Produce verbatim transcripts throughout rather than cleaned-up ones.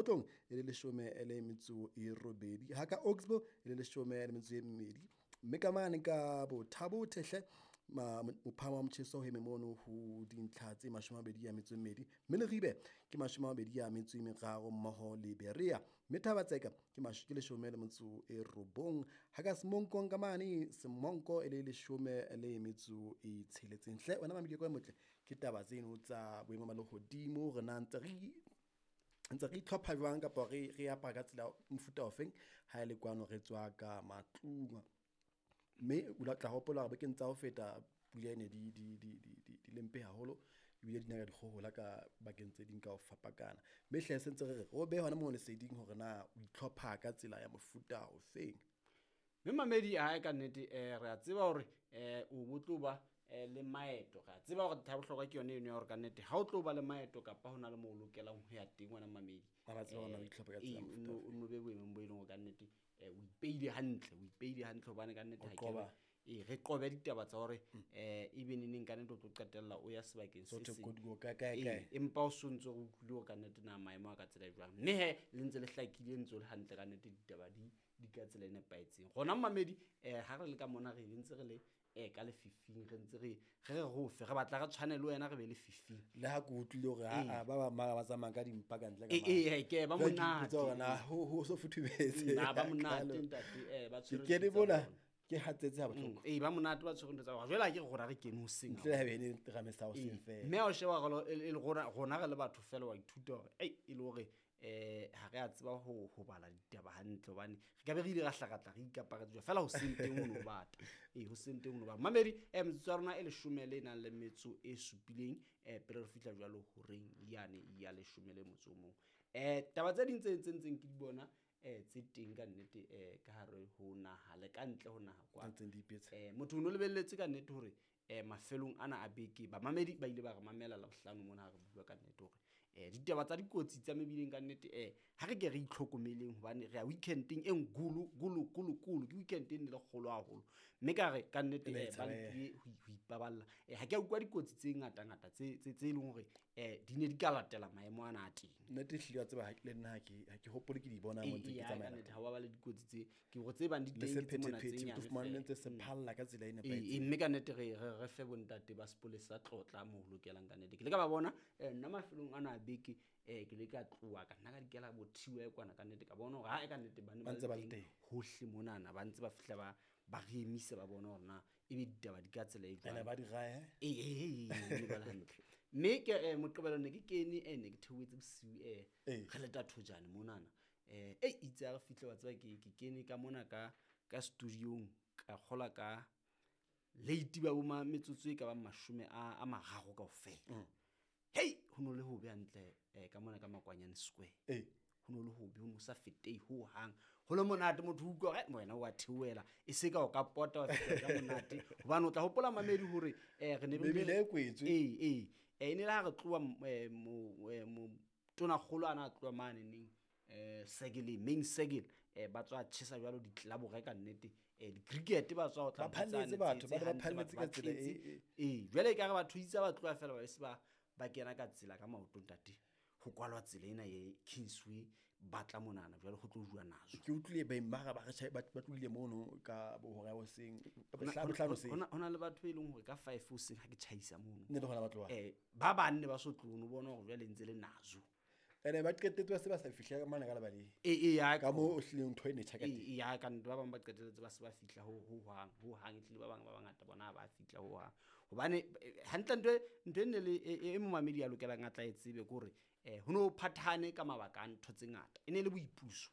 Mokhotlong e le leshome le metso e robedi, ha ka Oxbow e le leshome le metso e mmedi. Mme ka mane ka Botha-Bothe hle mophahamo wa motjheso o eme mono ho dintlha tse mashome a mabedi a metso e mmedi. Mme Leribe ke mashome a mabedi a metso e meraro mmoho le Berea. Mme Thaba-Tseka ke ke leshome le metso e robong. Ha ka Semonkong ka mane Semonko e le leshome le metso e tsheletseng. Hle wena mamedi e motle, ke taba tseno tsa boemo ba lehodimo re na ntse re ntse re itlhopha jwang kapa re re apara ka tsela mofuta ofeng ha ele kwano re tswa ka matlung. Mme o tla hopola hore bekeng tsa ho feta pula ne di di di di di le mpe haholo ebile di na ka dikgohola ka bakeng tse ding ka ho fapakana. Mme hle se ntse re re o behe hona moo leseding hore na o itlhopha ka tsela ya mofuta ofeng. Mme mamedi hae ka nnete eh re a tseba hore eh o bo tlo ba le maeto. Re a tseba hore taba bohlokwa ke yona eno ya hore ka nnete ha o tlo ba le maeto kapa hona le moo o lokelang ho ya teng wena mamedi. Ba tseba hore na o itlhopha ka tsela ya mofuta o no be boemong bo e leng hore ka nnete o ipeile hantle, o ipeile hantle hobane ka nnete ha ke re e re qobe ditaba tsa hore eh ebe neneng ka nnete o tlo qetella o ya sebakeng se seng. Empa o sontso re utlwile hore ka nnete na maemo a ka tsela e jwang. Mme he le ntse le hlakile ntse le hantle ka nnete ditaba di di ka tsela e nepahetseng. Rona mamedi eh ha re le ka mona re ntse re le eh ka lefifing re ntse re re re rofe re batla re tshwane le wena re be lefifing. Le ha ke utlwile hore a ba ba mara ba tsamaya ka dimpa ka ntle ka mane. Eh ke ba monate. Ke na ho ho so futhumetse. Na ba monate ntate eh ba tshwere. Ke ne bona ke hatsetse ha bohloko. Eh ba monate ba tshwere ntho tsa bona. Jwale ha ke re rona re kene hoseng. Ntle ha bene re mesa hoseng fela. Mme o sheba hore e le rona rona re le batho fela wa ithuta hore ei e le hore eh ha re a tseba ho ho bala ditaba hantle hobane re ka be re ile ra hlakatla re ikaparetse jwa fela hoseng teng o no bata. Eh hoseng teng o no bata. Mamedi eh metsotso ya rona e leshome le nang le metso e supileng eh pele re fihla jwalo horeng yane ya leshome le motso o mong. Eh taba tse ding tse tse ntseng ke di bona eh tse teng ka nnete eh ka hare ho naha le ka ntle ho naha kwa. Eh motho o no lebelletse ka nnete hore eh mafelong ana a beke ba mamedi ba ile ba re mamela la bohlano mona ha re bua ka nnete hore eh ditaba tsa dikotsi tsa mebileng ka nnete eh ha re ke re itlhokomeleng hobane re ya weekendeng e ngulu gulu gulu gulu ke weekend e ne le kgolo haholo mme ka re ka nnete eh ba lekile ho ipaballa. Eh ha ke a utlwa dikotsi tse ngata ngata tse tse tse leng hore eh di ne di ka latela maemo ana a teng. Nnete ehlile wa tseba ha le nna ha ke ha ke hopole ke di bona mo ntse ke tsamaya. Nnete ha wa ba le dikotsi tse ke hore tse bang di teng ke mona tse nyane. Le fumane ntse se phalla ka tsela e nepahetseng. Mme ka nnete re re fe bontate ba sepolesa tlotla mo lokelang ka nnete. Ke le ka ba bona eh nna mafelong ana a beke eh ke le ka tloha ka nna ka dikela bo thiwe kwana ka nnete ka bona hore ha e ka nnete ba ne ba le teng hohle monana ba ntse ba fihla ba ba re emise ba bona hore na ebe ditaba di ka tsela e jwang. Ene ba di rae. Eh eh eh ba le hantle. Mme ke moqebelo ne ke kene eh ne ke theoetse bosiu eh re leta thojane monana. Eh eh itse ha re fihle wa tseba ke ke kene ka mona ka ka studiong ka kgola ka late ba bo metsotso e ka ba mashome a a mararo kaofela. Hey ho no le ho be hantle eh ka mona ka Makwanyane Square. Eh ho no le ho be ho no sa fetei ho hang. Ho le monate motho utlwa hore wena wa theoela e se ka o ka pota wa feta ka monate hobane o tla hopola mamedi hore eh re ne re kwetswe. Eh eh eh ne la re tloa mo tona kgolo ana a tloa mane neng eh Segele main Segele eh ba tswa tjhesa jwalo ditlelabo re ka nnete eh di cricket ba tswa ho tla ba phalletse batho ba ba phalletse ka tsela e eh jwale ka re batho itse ba tloa fela ba se ba ba kena ka tsela ka maoto ntate ho kwalwa tsela ena ye Kingsway ba tla monana jwale ho tlo jua nazo. Ke utlwile ba imara ba re ba tlohile mono ka bohora hoseng bohlano hoseng. Hona hona le batho e leng hore ka five hoseng ha ke tjhaisa mono ne le hona ba tloha eh ba banne ba so tlono bona hore jwale ntse le nazo. Ene ba qetetse ba se ba sa fihla mane ka lebaleng. Eh eh ya ka mo o hlileng ntho e ne tjha ka teng. Eh ya ka ntho ba bang ba qetelletse ba se ba fihla ho ho hang ho hang ehlile ba bang ba bangata bona ba fihla ho hang. Hobane hantle ntho ntho e ne le e momamedi ya lokelang a tla e tsebe ke hore eh ho no phathane ka mabaka a ntho tse ngata. E ne le boipuso.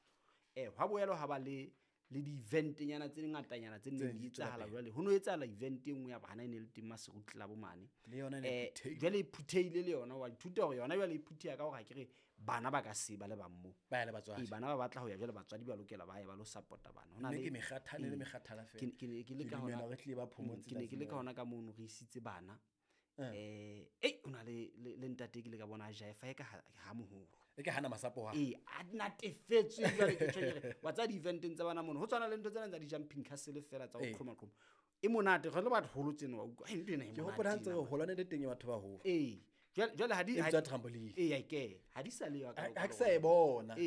Eh hwa boelo ha ba le le di-event nyana tse ngatanyana tse neng di etsahala jwale ho no etsahala event e nngwe ya bana e ne le teng Maseru Club mane. Le yona ne phuthehile. Jwale e phuthehile le yona wa ithuta hore yona jwale e phutheha ka hore ha ke re bana ba ka se ba le bang mo. Ba ya le batswadi. Eh bana ba batla ho ya jwale batswadi ba lokela ba ye ba lo support-a bana. Hona le ke mekgathane le mekgathala fela. Ke ne ke le ka hona re tlile ba phomotse. Ke ne ke le ka hona ka mono re isitse bana. Eh eh hona le le ntate ke le ka bona jaifa e ka ha moholo. E ke hana masapo ha. Eh a natefetswe jwale ke tjho ke re wa tsa di-eventeng tsa bana mono ho tshwana le ntho tsena tsa di-jumping castle fela tsa ho qhoma qhoma. E monate re le batho holo tsena wa utlwa ntho ena e monate. Ke hopola ntse re holane le teng ya batho ba holo. Eh Jwale jwale ha di E ha bitswa di- trampoline. ee ke ha di sa le yo Ha ha ke sa e bona.